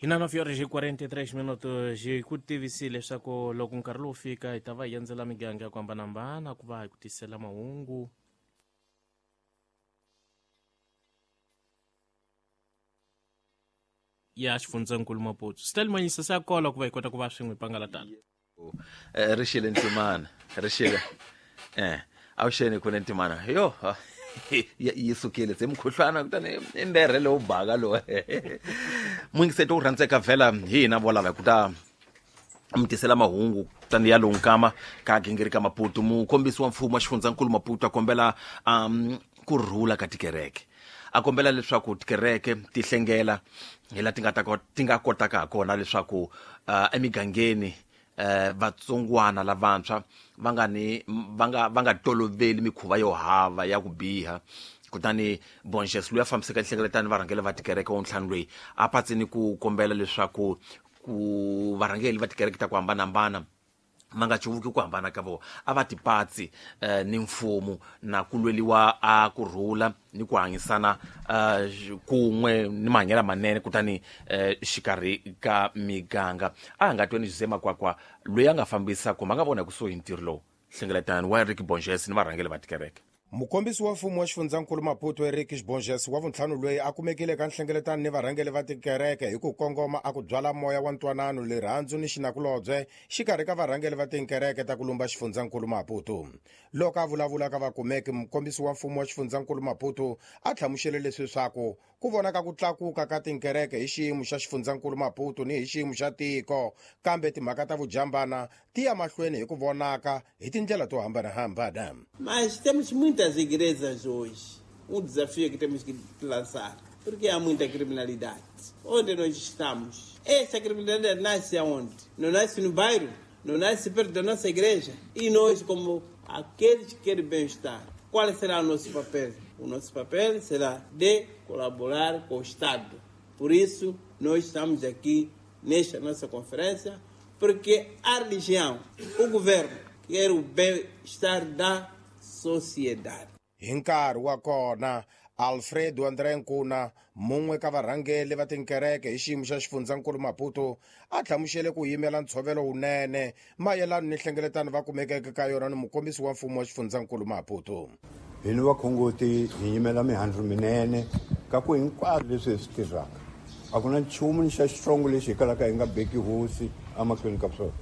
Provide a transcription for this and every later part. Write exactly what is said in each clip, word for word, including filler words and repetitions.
Hi na nove horas e quarenta e três minutos hi ku tivisile leswaku loko nkarhi lowu fika hi ta va hi endzela miganga ya ku hambanahambana ku va hi ku tisela mahungu ya xifundzankulu Maputo. Stel Manyisa se a kola ku va hi kota ku va swin'we hi pangalatana. Ri xile Ntimana, ri xile. Eh, avuxeni ku Ntimana. Yo, yi sukile se mukhuhlwana kutani i mberhe lowu baka lowu. Muyingiseti wu rhandzeka vhela hi hina vo lava hi ku ta mi tisela mahungu kutani ya lonkama ka gingiri ka Maputo. Mukhombisi wa mfumo wa xifundzankulu Maputo a kombela um ku rhula ka tikereke. A kombela leswaku tikereke ti hlengela hi laha ti nga ta ti nga kotaka ha kona leswaku uh, emigangeni eh vatsongwana lavantshwa va nga ni va nga va nga toloveli mikhuva yo hava ya ku biha. Kutani Bonges loyi a fambisaka nhlengeletano varhangeli va tikereke wa ntlhanu loyi a patsini ku kombela leswaku ku varhangeli va tikereke ta ku hambanahambana ma nga cuvuki ku hambana ka vona, a va tipatsi eh, ni mfumo na ku lweliwa a ku rhula ni ku hanyisana eh, kun'we ni mahanyelo manene kutani eh, xikarhi ka miganga. A nga tweni Jose Makwakwa loyi a nga fambisa kumbe a nga vona kusuhi ntirho lowu nhlengeletano wa Eric Bonges ni varhangeli va tikereke. Mukombisi wa mfumo wa xifundzankulu Maputo Eric Bonges wa vuntlhanu loyi a kumekile ka nhlengeletano ni varhangeli va tikereke hi ku kongoma a ku byala moya wa ntwanano, rirhandzu ni xinakulobye xikarhi ka varhangeli va tikereke ta ku lumba xifundzankulu Maputo. Loko a vulavula ka vakumeki, mukombisi wa mfumo wa xifundzankulu Maputo a hlamusele leswi swaku ku vonaka ku tlakuka ka tikereke hi xiyimo xa xifundzankulu Maputo ni hi xiyimo xa tiko, kambe timhaka ta vujambana ti ya mahlweni hi ku vonaka hi tindlela to hambanahambana. Mas temos muitas igrejas hoje. Um desafio que temos que lançar, porque há muita criminalidade. Onde nós estamos? Essa criminalidade nasce aonde? Não nasce no bairro, não nasce perto da nossa igreja. E nós, como aqueles que querem bem-estar, qual será o nosso papel? O nosso papel será de colaborar com o Estado. Por isso, nós estamos aqui nesta nossa conferência, porque a religião, o governo, quer o bem-estar da sociedade. Hi nkarhi wa kona, Alfredo André Nkuna, mun'we ka varhangeli va tinkereke hi xiyimo xa xifundzankulu Maputo, a hlamusele ku yimela ntshovelo wunene mayelana ni nhlengeletano va kumekeke ka yona ni mukombisi wa mfumo wa xifundzankulu Maputo. Hi ni vakhongoti hi yimela mihandzu minene ka ku hinkwaswo leswi hi swi tirhaka. A ku na nchumu ni xa xitsongo lexi hi kalaka hi nga beki hosi emahlweni ka swona.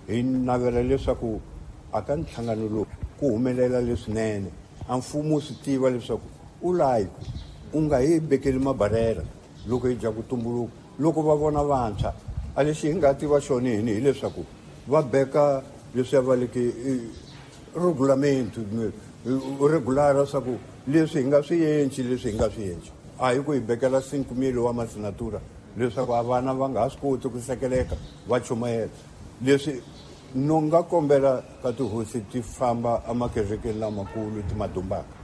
Hi navela leswaku a ka nhlangano lowu ku humelela leswinene, a mfumo wu swi tiva leswaku u layi u nga hi bekeli mabarera loko hi dya ku tumbuluka. Loko va vona vantshwa, a lexi hi nga tiva xona hini hileswaku va beka leswiya va leke regulamento regular leswaku leswi hi nga swi endli, leswi hi nga swi endli. A hi ku hi bekela cinco mil wa masinatura leswaku a vana va nga ha swi koti ku sekeleka va chumayela. Leswi no nga kombela ka tihosi ti famba emakerekeni lamakulu ti madumbaka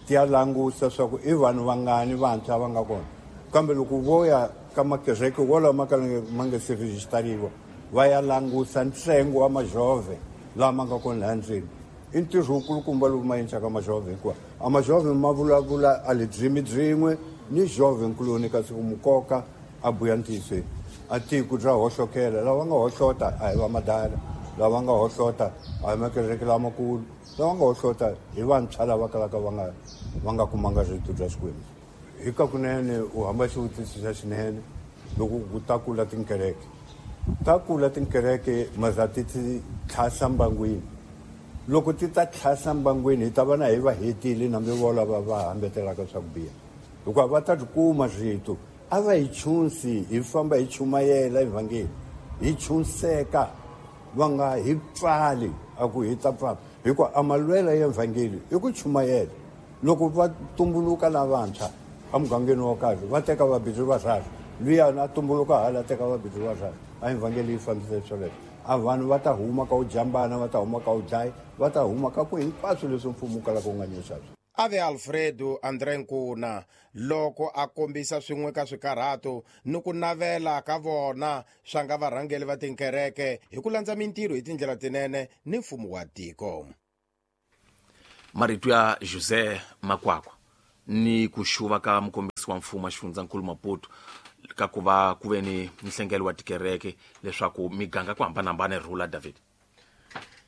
ti ya langusa swa ku i vanhu vangani vantshwa va nga kona. Kambe loko vo ya ka makereke wolama ka ma nga se rejistariwa va ya langusa ntsengo wa majove lama nga kona laha ndzeni. I ntirho wukulukumba lowu ma endlaka majove, hikuva a majove ma vulavula a le dzimi byin'we ni jove nkuloni, kasi ku mukoka a buya ntiyisweni. A tiko bya hohlokela, lava nga hohlota a hi va madala, lava nga hohlota a hi makereke lamakulu, lava nga hohlota hi vantshwa lava kalaka va nga va nga kumanga rito bya Xikwembu. Hi ka kunene u hamba xivutiso xa xinene loko ku ta kula tinkereke. Ta kula tinkereke maza ti ti tlhasa mbangwini. Loko ti ta tlhasa mbangwini hi ta va na hi va hetile nambe vo lava va hambetelaka swa ku biha, hikuva va ta ri kuma rito. A va hi chunsi, hi famba hi chumayela evhangeli, hi chunseka, va nga hi pfali a ku hi ta pfala, hikuva a malwela ya evhangeli i ku chumayela. Loko va tumbuluka lavantshwa emugangeni wo karhi va teka vabindzu va rharhu, luyani a tumbuluka hala teka vabindzu va rharhu, a evhangeli yi fambisa swoleswo. A vanhu va ta huma ka u jambana, va ta huma ka u dlaya, va ta huma ka ku hinkwaswo leswi mfumo wu kalaka wu nga nyisa swona. Ave Alfredo André Nkuna loko a kombisa swin'we ka swikarhato ni ku navela ka vona swa nga varhangeli va tinkereke hi ku landza mintirho hi tindlela tinene ni mfumo wa tiko. Marito ya Jose Makwakwa ni ku xuva ka mukombisi wa mfumo wa xifundzankulu Maputo ka ku va ku ve ni nhlengelo wa tikereke leswaku miganga ku hambanahambana rhula David.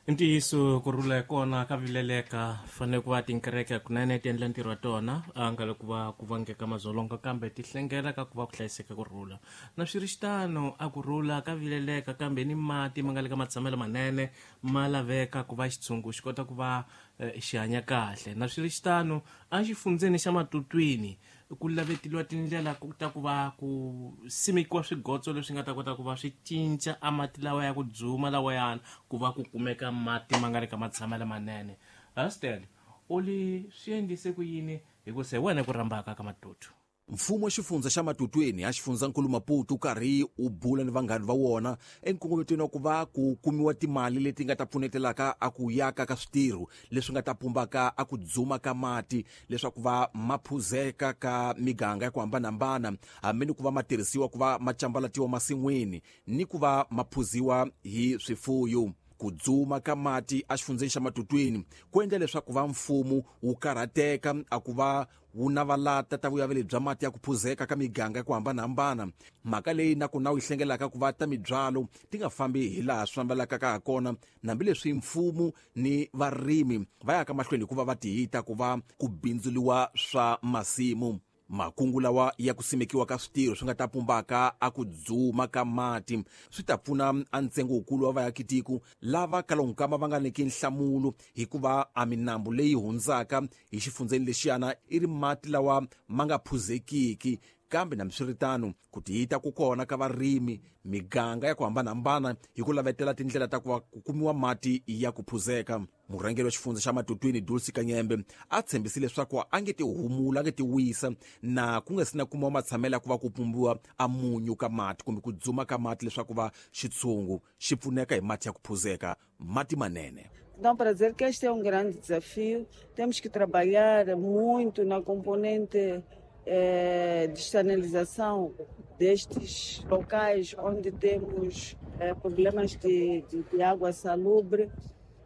Ntiyiso ku rhula kona ka vileleka fanele ku va tinkereke kunene ti endla ntirho wa tona a nga le ku va ku vangeka madzolonga kambe ti hlengela ka ku va ku hlayiseka ku rhula na swi ri xitano a ku rhula ka vileleka kambe ni mati ma nga le ka matshamelo manene ma laveka ku va xitshungu xi kota ku va xi hanya kahle na swi ri xitano a xifundzeni xa Matutwini ku laveteliwa tindlela ku ta ku va ku simekiwa swigotso leswi nga ta kota ku va swi cinca a mati lawa ya ku dzuma lawayana ku va ku kumeka mati ma nga ri ka matshamelo manene. Hostel u li swi endlise ku yini hi ku se wena ku rhambaka ka Matutu? Mfumo wa xifundza xa Matutweni a xifundzankulu Maputo karhi u bula ni vanghani va wona enkongometweni wa ku va ku kumiwa timali leti nga ta pfunetelaka a ku yaka ka switirho leswi nga ta pumbaka a ku dzuma ka mati leswaku va ma phuzeka ka miganga ya ku hambanahambana hambi ni ku va ma tirhisiwa ku va ma cambalatiwa masin'wini ni ku va ma phuziwa hi swifuyo. Ku dzuma ka mati a xifundzeni xa Matutwini ku endla leswaku va mfumo wu karhateka a ku va wu navalata ta vuyaveli bya mati ya ku phuzeka ka miganga ya ku hambanahambana. Mhaka leyi na ku na wu yi hlengelaka ku va ta mibyalo ti nga fambi hi laha swi fambelaka ka ha kona hambileswi mfumo ni varimi va yaka mahlweni hikuva va tihita ku va ku bindzuliwa swa masimu. Makungu lawa ya ku simekiwa ka switirho swi nga ta pumbaka a ku dzuma ka mati swi ta pfuna a ntsengo wukulu wa vaakitiko lava kalonkama va nga nyiki nhlamulo hikuva a minambu leyi hundzaka hi xifundzeni lexiyana i ri mati lawa ma nga phuzekiki. Kambe nambiswiritano ku tiyita ku kona ka varimi miganga ya ku hambanahambana hi ku lavetela tindlela ta ku va ku kumiwa mati ya ku phuzeka. Murhangeri wa xifundza xa Matutwini Dulce Kanyembe a tshembisile leswaku a nge ti humula a nge ti wisa na ku nga si na kumiwa matshamelo ya ku va ku pumbiwa a munyu ka mati kumbe ku dzuma ka mati leswaku va xitshungu xi pfuneka hi mati ya ku phuzeka mati manene. Então, para dizer que este é um grande desafio, temos que trabalhar muito na componente eh, de estanilização destes locais onde temos eh, problemas de, de, de água salubre.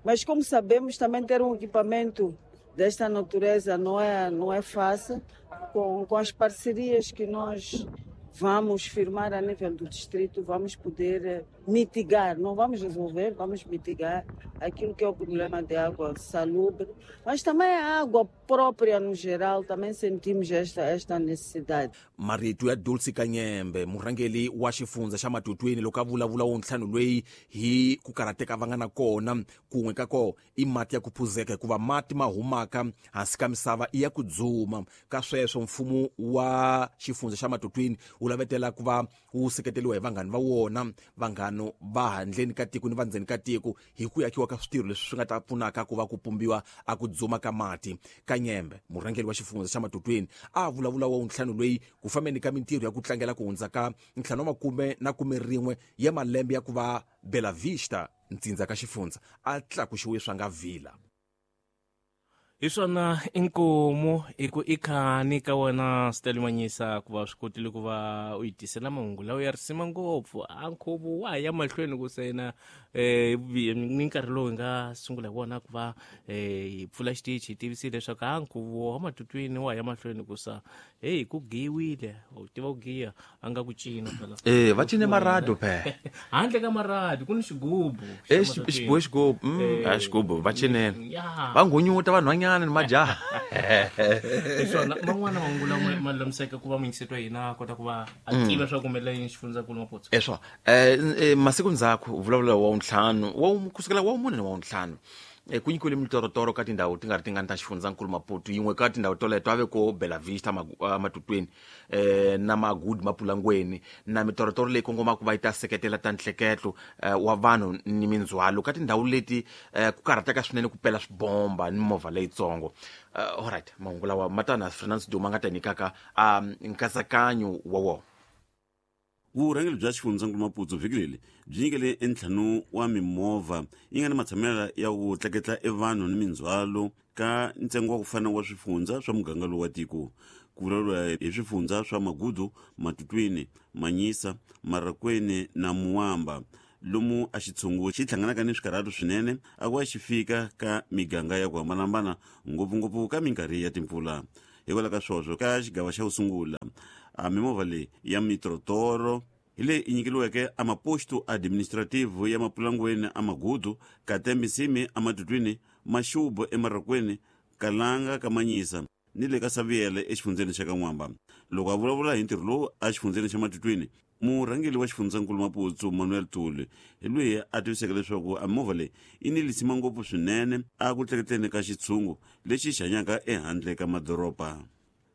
Mas, como sabemos, também ter um equipamento desta natureza não é, não é fácil. Com, com as parcerias que nós vamos firmar a nível do distrito, vamos poder mitigar, não vamos resolver, vamos mitigar aquilo que é o problema de água salubre, mas também a água própria no geral, também sentimos esta, esta necessidade. Marito ya Dulce Kanyembe, murhangeri wa xifundza xa Matutwini loko a vulavula wo ntlhanu loyi hi ku karhateka va nga na kona kun'we ka ko i mati ya ku phuzeka hikuva mati ma humaka hansi ka misava i ya ku dzuma. Ka sweswo mfumo wa xifundza xa Matutwini wu lavetela ku va wu seketeriwa hi vanghani va wona vanghano va handleni ka tiko ni va ndzeni ka tiko hi ku yakiwa ka switirho leswi swi nga ta pfunaka ku va ku pumbiwa a ku dzuma ka mati. Kanyembe murhangeri wa xifundza xa Matutwini a vulavula wa ntlhanu loyi ku fambeni ka mintirho ya ku tlangela ku hundza ka ntlhanu wa makume na kume rin'we ya malembe ya ku va Bela Vista ntsindza ka xifundza a tlakuxiwe swa nga vila. Hi swona inkomu i ku i khani ka wena Stelmanyisa ku va swi kotile ku va u yi tisela mahungu lawa ya risima ngopfu a nkhuvo wa ha ya mahlweni ku sena um ni nkarhi lowu hi nga sungula hi wona ku va hi pfula xitichi hi tivisile leswaku a nkhuvo wa Matutwini wa ha ya mahlweni ku sa heyi ku giyiwile u tiva ku giya a nga ku cina phela eh va cine marado phe handle ka marado ku ni xigubu eh xigubu xigubu a xigubu va cinela va ngunyuta vanhwanyana ni majaha. Hiswona man'wana mahungu lama ma lulamiseke ku va muyingiseti wa hina a kota ku va a tiva swa ku humelela yini xifundzankulu Maputo. Eswo eh masiku ndzhaku vulavula wa ntlhanu wa kusukela wa mune wa ntlhanu ku nyikiwile mitorotoro ka tindhawu ti nga ri tingani ta xifundzankulu Maputo yin'we ka tindhawu toleto a ve ko Bela Vista Matutwini eh na Magudi Mapulangweni na mitorotoro leyi kongomaka va yi ta seketela ta nhleketlo wa vanhu ni mindzhwalo ka tindhawu leti ku karhateka swinene ku pela swibomba ni movha leyitsongo. Alright mahungu lawa ma ta na Fernandes Duma nga ta nyikaka nkatsakanyo wa wona. Vurhangeri bya xifundzankulu Maputo vhiki leri byi nyikele entlhanu wa mimovha yi nga ni matshamelo ya ku tleketla evanhu ni mindzhwalo ka ntsengo wa ku fana wa swifundza swa muganga lowu wa tiko. Ku vulavuriwa hi swifundza swa Magudu, Matutwini, Manyisa, Marakweni na Muwamba lomu a xitshungu xi hlanganaka ni swikarhato swinene a ku va xi fika ka miganga ya ku hambanahambana ngopfungopfu ka minkarhi ya timpfula. Hikwalaho ka swoswo ka xigava xa ku sungula A mimovha leyi ya mitrotoro hi leyi i nyikeliweke a maposto administrativo ya Mapulangweni a Magudu, Katembe Nsimi a Matutwini, Maxubu eMarakweni, Kalanga ka Manyisa ni le ka Saviele exifundzeni xa ka N'wamba. Loko a vulavula hi ntirho lowu a xifundzeni xa Matutwini, murhangeri wa xifundzankulu Maputo Manuel Tuli hi loyi a tiviseke leswaku a mimovha leyi yi ni lisima ngopfu swinene a ku tleketleni ka xitshungu lexi xi hanyaka ehandle ka madoroba.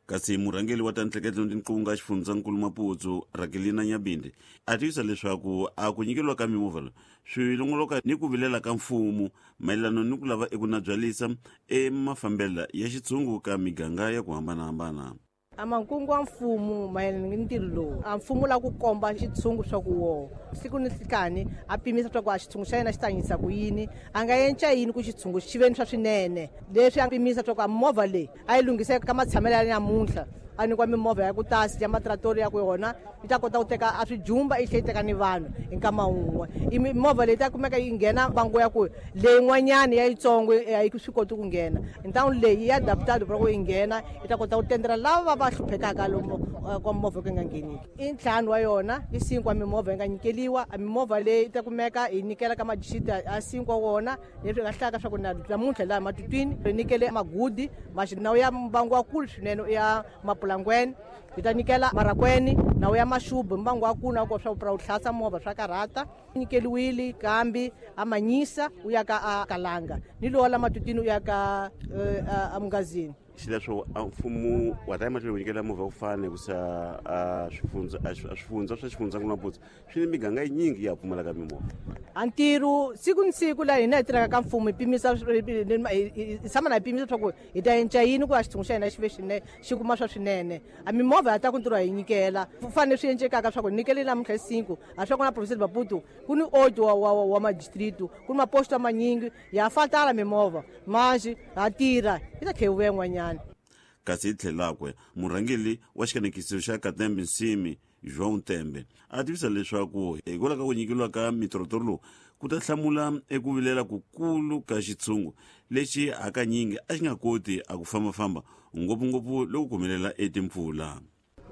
Kasi murhangeri wa ta ntleketlo ni tinqunga xifundzankulu Maputo Rakelina Nyabinde a tivisa leswaku a ku nyikeliwa ka mimovha leyi swi longoloka ni ku vilela ka mfumo mayelana ni ku lava eku nabyalisa emafambela ya xitshungu ka miganga ya ku hambanahambana. A mankungu wa mfumo mayelana ni ntirho lowu a mfumo la ku komba xitshungu swa ku woho siku ni nhlikani a pimisa swa ku a xitshungu xa yena xi tanyisa ku yini, a nga enca yini ku xitshungu xi ve ni swa swinene. Leswi a pimisa swa ku a movha leyi a yi lunghisa ka matshamelo ya namuntlha, a nyikiwa mimovha ya ku tasi ya matratori ya ku yona yi ta kota ku teka a swijumba yi tlhela yi teka ni vanhu hi nkama wun'we. I mimovha leyi ta kumeka yi nghena bango ya ku leyin'wanyana ya yitsongo a yi swi koti ku nghena, ntangu leyi ya adaptado ku yi nghena yi ta kota ku tendela lava va hluphekaka lomu kwa movha ku nga ngheniki. I ntlhanu wa yona i cinco wa mimovha yi nga nyikeliwa. A mimovha leyi yi ta kumeka yi nyikela ka madixiti a cinco wa wona, leswi nga hlaka swa ku na namuntlha laha Matutwini ri nyikele Magudi nawu ya mbangu wa kulu swinene ya Mapulangweni, yi ta nyikela Marakweni nawu ya Maxubu mbangu wa kulu na ku swa ku tlhasa movha swa karhata nyikeliwile kambi a Manyisa u ya ka a Kalanga ni lowa la Matutwini u ya ka a Mungazini. Xileswo a mfumo wa ta emahlweni ku nyikela movha ku fana hikusa a swifundza a swifundza swa xifundzankulu Maputo swi ni miganga yinyingi ya pfumalaka mimovha. A ntirho siku ni siku laha hina hi tirhaka ka mfumo hi pimisa hi tshama na hi pimisa swa ku hi ta enca yini ku a xitshungu xa hina xi ve xinene xi kuma swa swinene. A mimovha ya ta ku ntirho hi nyikela ku fanele swi encekaka swa ku nyikele namuntlha hi cinco a swa ku na province Maputo ku ni oito wa wa wa madistrito ku ni maposto manyingi ya fatala mimovha manji ha tirha yi ta tlhela yi vuya n'wanyana. Kasi hi tlhelakwe murhangeri wa xikanekiso xa Katembe Nsimi João Tembe a tivisa leswaku hikwalaho ka ku nyikeliwa ka mitrotoro lowu ku ta hlamula eku vilela kukulu ka xitshungu lexi hakanyingi a xi nga koti a ku fambafamba ngopfungopfu loko ku humelela etimpfula.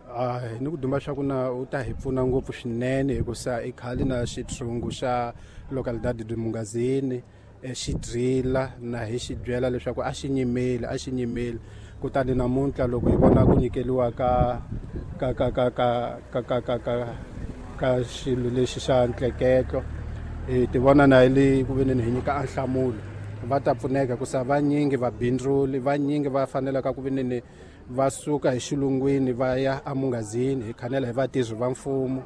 A ni ku duma xa ku na u ta hi pfuna ngopfu swinene hikusa i khale na xitshungu xa localidade de Mungazini xi drila na hi xi byela leswaku a xi nyimeli a xi nyimeli. Kutani namuntlha loko hi vona ku nyikeliwa ka ka ka ka ka ka ka ka ka ka xilo lexi xa ntleketlo hi ti vona na hi le ku veneni hi nyika a nhlamulo va ta pfuneka hikusa vanyingi vabindzuli vanyingi va fanelaka ku veneni va suka hi xilungwini va ya eMungazini. Hi khanela hi vatirhi va mfumo,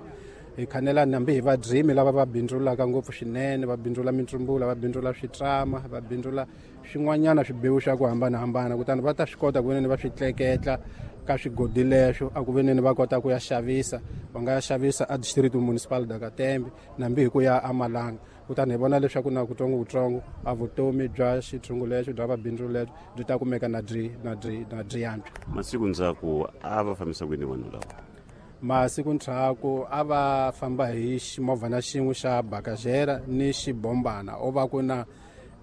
hi khanela nambi hi vadyimi lava va bindzulaka ngopfu swinene, va bindzula mitsumbula, va bindzula switrama, va bindzula swin'wanyana swibewu swa ku hambanahambana. Kutani va ta swi kota ku veneni va swi tleketla ka swigodi leswo a ku veneni va kota ku ya xavisa, va nga ya xavisa a district municipal da Katembe nambi hi ku ya eMalanga. Kutani hi vona leswaku na kutsongokutsongo a vutomi bya xitshungu lexo bya vabindzu lexo byi ta kumeka na byi na byi na byi yantswa. Masiku ndzhaku a va fambisa ku yini vanhu lava? Masiku ndzhaku a va famba hi ximovhana xin'we xa bakajera ni xibombana o va ku na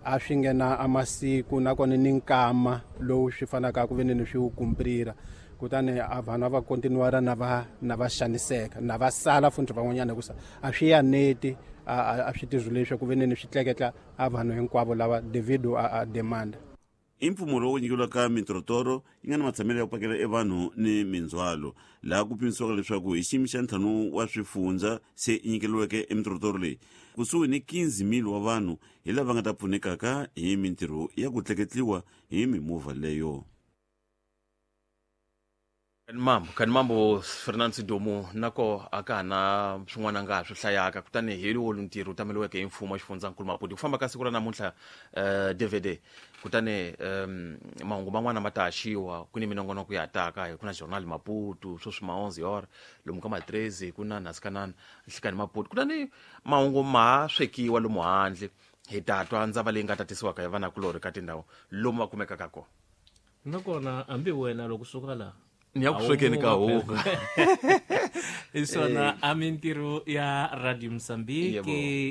a swi nghena a masiku nakona ni nkama lowu swi fanaka ku veneni swi wu kumprira. Kutani a vanhu a va kontinuara na va na va xaniseka na va sala futhi van'wanyana hikusa a swi ya neti a swi tirhi leswi ku veneni swi tleketla a vanhu hinkwavo lava devido a demand. I mpfumo lowu nyikeliwaka mitrotoro yi nga na matshamelo ya ku pakela evanhu ni mindzhwalo laha ku pimisiwaka leswaku hi xiyimo xa ntlhanu wa swifundza se yi nyikeliweke emitrotoro leyi kusuhi ni quinze mil wa vanhu hi lava nga ta pfunekaka hi mintirho ya ku tleketliwa hi mimovha leyo. Mambo kani mambo Fernando Sidomu nako aka na swin'wana nga swi hlayaka kutani hi lowu ntirho tameliweke hi mfumo wa xifundzankulu Maputo ku famba ka siku ra namuntlha uh, D V D kutani um, mahungu man'wana ma ta haxiwa ku ni minongonoko ya taka ku na journal Maputo sweswi ma onze hora lomu ka ma treze ku na nasikanana nhlikani Maputo kutani mahungu ma swekiwa lomu handle hi ta twa ndzava leyi nga tatisiwaka hi vanakulorhi ka tindhawu lomu va kumekaka kona. Nakona hambi wena loko suka laha ni ya ku swekeni ka huku isona a mintirho ya Radio Mozambique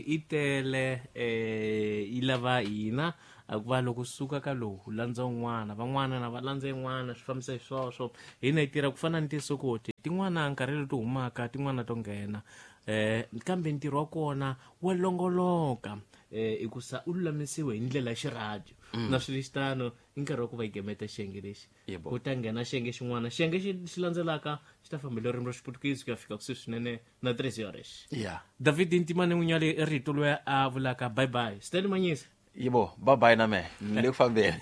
i tele eh yi lava hina A ku va loko suka ka lowu u landza un'wana, van'wana na va landza yin'wana, swi fambisa hi swoswo. Hina hi tirha ku fana ni tisokoti, tin'wana nkarhi leti humaka, tin'wana to nghena. Eh kambe ntirho wa kona wa longoloka eh hikusa u lulamisiwe hi ndlela ya xirhadio. Mm. Na swilexitano i nkarhi wa ku va hi gemeta xiyenge lexi. Yebo. Ku ta nghena xiyenge xin'wana, xiyenge xi xi landzelaka xi ta fambela ririmi ra Xiputukezi ku ya fika kusuhi swinene na três horas. Yeah. David Ntimane Munyali i rito loyi a vulaka bye bye. Stanley Manyisa. Yebo, bye bye na mehe. Ni le ku fambeni.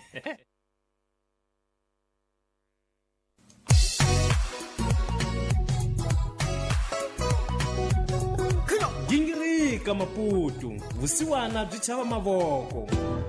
Gingirika Maputo, vusiwana byi chava mavoko.